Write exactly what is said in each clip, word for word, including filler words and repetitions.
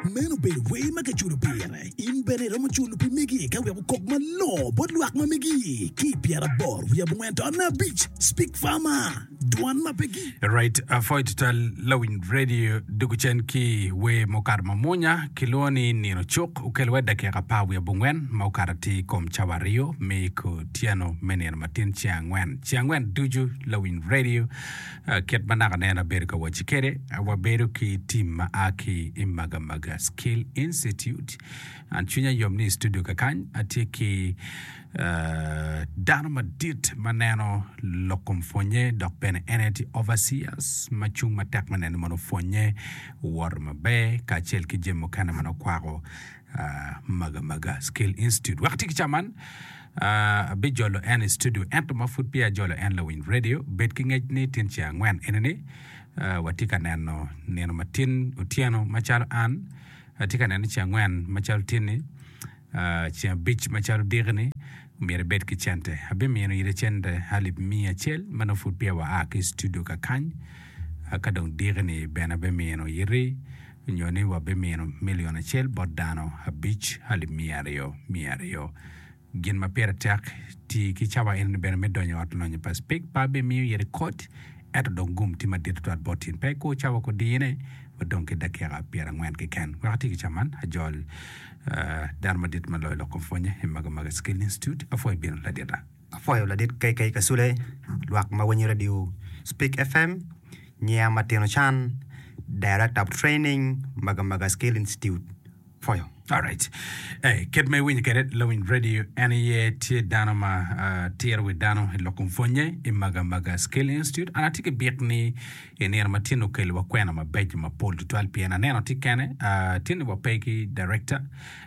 Meno obedo wer ma kiculo pire. In bene iromo culo pi megi ka wek okok malongo bot lwak ma megi ki i pyeraboro wiye abongwen to abic. Speak Farmer, dwan ma pe gi. Right, apwoyo tutwal lawiny radio dugu cen ki wer mukato mamwonya kilwongo ni nino cuk okelo wa dakika apar wiye abongwen ma okato atir i kom cawa aryo me kutyeno me nino matin ceng angwen. Ceng angwen ducu lawiny radio kit ma naka nen abedo ka wacci kwede wabedo ki tim ma a ki i Magamaga Skill Institute. An cwinya yom ni i studio kakany atye ki dano madit ma neno lok kom pwonye dok bene en aye tye overseers ma cung matek me neno ni mono pwonye owoto maber kacel ki jami mukene ma nongo kwako Magamaga Skill Institute. Wek atye ki ca man abijolo en i studio ento ma pud peya ajolo en lawiny radio bed ki ngec ni tin ceng angwen enini watye ka neno nino matin otyeno macalo an atye ka neno ceng angwen macalo tin-ni ceng abic macalo diki-ni myero ibed ki cente. Abimino ite cente alip miya acel ma nongo pud peya waa ki i studio kakany ka dong diki-ni bene abimino iti nyo ni wabimino milion acel bot dano abic alip miya aryo miya aryo. Gin ma pire tek, ti ki cawa enoni bene me donyo i ot lonyo pa Speke. Pe abimiyo iti kod, ento dong gum tye madit tutwal bot in. Pe ikur cawa kudine, wadong ki dakika pyerangwen keken. Wek ati ki cawa man, ajol dano madit ma loyo lok kom pwonye i Magamaga Skill Institute. Apwoyo bino ladita. Apwoyo ladit K K Kasule, lwak ma winyo radio Speke F M, nyiya Matino Chan, Director of Training, Magamaga Skill Institute. Pwoyo. Alright. Hey, kit ma iwinyo kwede lawiny radio en aye tye dano ma uh, tiro wi dano i lok kom pwonye i Magamaga Skill Institute. An atye ki bik ni i nino ma tin okeliwa kwena mabeco mapol tutwal pien aneno tye kene uh, tin ni wape ki director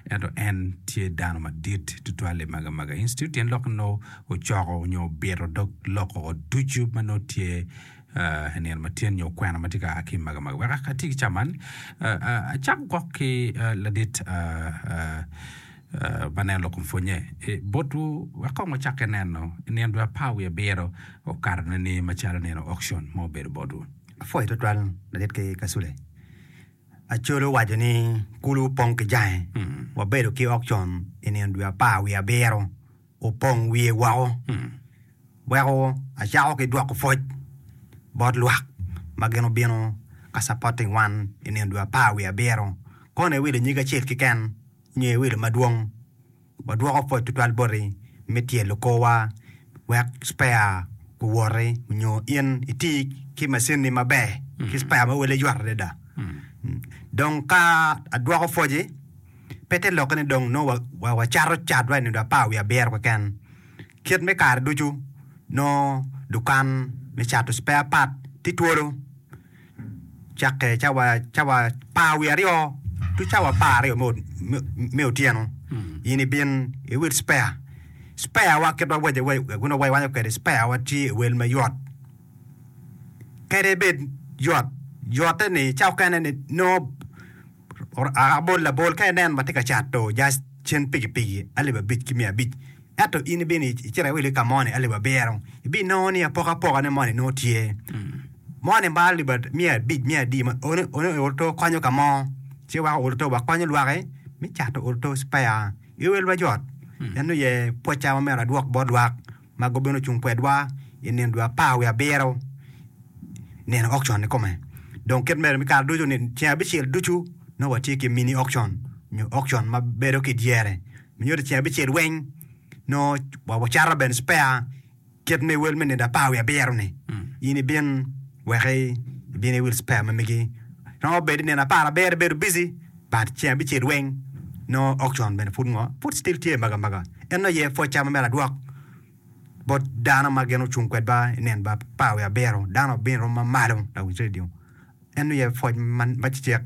ento en tye dano madit tutwal i Magamaga Institute tyen lok nongo ocoko nyo obito dog loko ducu ma nongo tye i nino ma tyen nyo kwena ma tye ka a ki i Magamaga. Wek ati ki ca man, acak gwok ki ladit ma neno lok kom pwonye botwu wek kong wacakke neno i nino dwe apar wiye abiro okato ni macalo nino auction ma obedo botwu. Apwoyo twatwal ladit ki Kasule. Acholi owaco ni kulu opong ki jange. Wabedo ki auction i nino dwe apar wiye abiro opong wiye woko. Weko acako ki dwoko pwoc bot lwak ma gin obino ka supporting wan i nino dwe apar wiye abiro. Kono iwilo nyig acel keken nyo iwilo madwong, wadwoko pwoc tutwal boti me tyelo korwa wek spare guwoti nyo in iti ki macinni maber ki spare ma wele yot adada. Dong ka adwoko pwoci, pe te lokke ni dong nongo wacato catwa i nino dwe apar wiye abiro keken. Kit me kare ducu, nongo dukan me cato spare part tye twolo cakke cawa cawa apar wiye aryo ki cawa apar aryo me otyeno. In ibin iwil spare. Spare wa kit ma wawaco kwede spare wa tye i wel mayot. Kadi bed yot, yotte ni cawa okene ni nongo abol labol ka inen watye ka cato just cen pikipiki alip abic ki miya abic ento in ibino icito iwilo ki ka mo ni alip abiro ibinongo ni apokapokane moni nongo tye moni ma alip miya abic miya adi ono oto konyo ka mo ci weko oto wa konyo lwaki me cato oto spare i wel wajot en aye pwocca ma myero adwok bot lwak ma gubino cung kwedwa i nino dwe apar wiye abiro nino auction kikome. Dong kit mere me kare ducu ni ceng abicel ducu nongo watye ki mini auction nyo auction ma bedo ki dyere nyuto ceng abicel weng nongo wacato bene spare kit me wel me nino apar wiye abiro ni in ibin wek ibin iwil spare ma megi romo bedo nino apar abiro ibedo busy but ceng abicel weng nongo auction bene pud ngo pud still tye maga maga en aye pwocca ma myero adwok bot dano ma gin ocung kwedwa i nino apar wiye abiro dano obino rom ma malo lawinj radio en aye pwoc ma cecek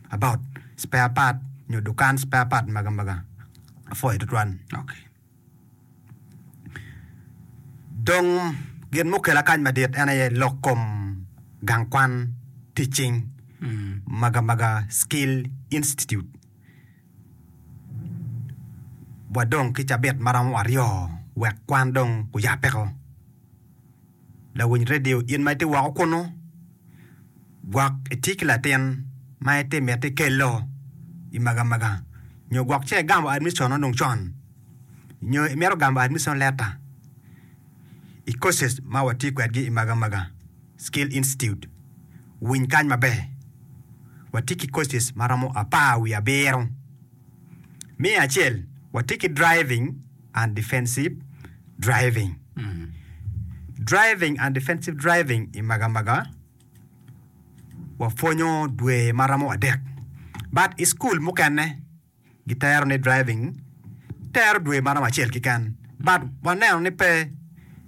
about spare part nyo dukan spare part maga maga apwoyo tutwal. Dong gin mukela kany madit en aye lok kom gang kwan tic cing maga maga Skill Institute. Wadong ki cabit maromo aryo wek kwan dong oyabbeko. Lawiny redio in ma itye woko kunu, gwok itye ki latin ma itye miti kelo i Magamaga nyo gwok ce igamo admission dong con nyo imito gamo admission letter i courses ma watye kwedgi i Magamaga Skill Institute winy kany maber watye ki courses ma romo apar wiye abiro me acel watye ki driving and defensive driving driving and defensive driving i Magamaga wapwonyo dwe ma romo adek but i school mukene gitero ni driving tero dwe ma romo acel keken but waneno ni pe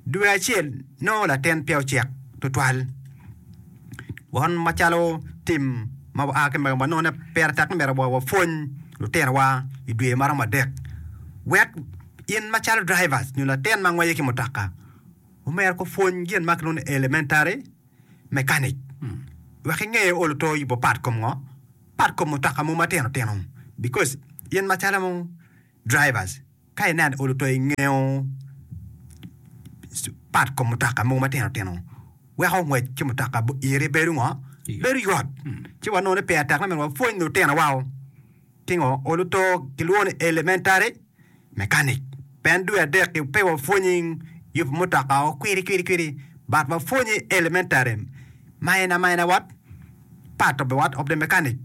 dwe acel nongo latin peya ocek tutwal wan macalo tim ma waa ki Magamaga wanongo ni pire tek ni myero wapwony lutinowa i dwe ma romo adek wek in macalo drivers nyo latin ma ngweco ki mutoka omyero kupwony gin ma kilwongo ni elementary mechanic wek inge olo to yubo part kom ngo part kom mutoka mo matino tino because in macalo drivers ka ineno olo to ingeyo part kom mutoka mogo matino tino weko ngwec ki mutoka iri bedo ngo bedo yot ci wanongo ni pire tek ni myero wapwony lutinowa pingo olo to kilwongo ni elementary mechanic pien dwe adek pe wapwonyi yubo mutoka o kwiri kwiri kwiri but wapwonyi elementary minor minor what part of the what of the mechanic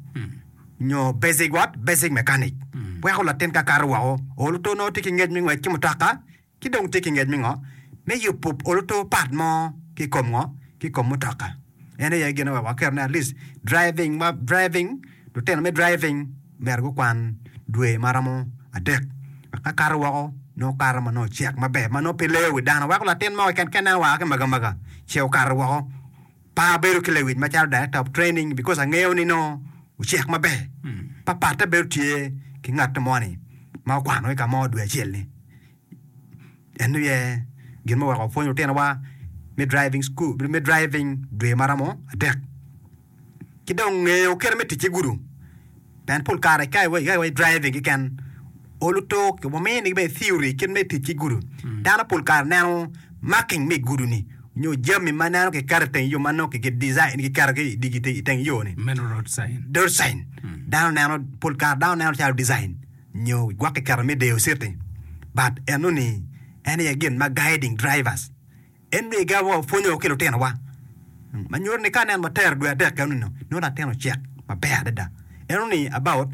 nyo basic what basic mechanic weko latin ka kato woko olo to nongo tye ki ngec me ngwec ki mutoka ki dong tye ki ngec me ngo me yubo olo to part mo ki i kom ngo ki i kom mutoka en aye gin ma waketo ni at least driving ma driving lutino me driving myero gukwan dwe ma romo adek wek ka kato woko nongo kato ma nongo ocek maber ma nongo pe leyo wi dano weko latin mo keken ka ineno waa ki Magamaga ce okato woko pe abedo ki lewic macalo director of training because angeyo ni nongo ocek maber pa patte bedo tye ki ngat mo-ni ma okwano ki ka mo dwe acel-ni en aye gin ma oweko wapwonyo lutinowa me driving school me driving dwe ma romo adek ki dong ngeyo kite me tic ki gudo pien pol kare ka iwaco driving keken olo to wamiyo bene theory kit me tic ki gudo dano pol kare neno marking me i gudo-ni nyo jami ma neno kiketo i teng yo ma nongo ki design kiketo ki i teng yo ni Meno road sign. Road sign dano neno pol kare dano neno calo design nyo gwok kiketo me deyo city but enoni en aye gin ma guiding drivers en aye gin ma wapwonyo ki lutinowa ma nyuto ni ka nen watero dwe adek enoni nongo latin ocek maber adada enoni about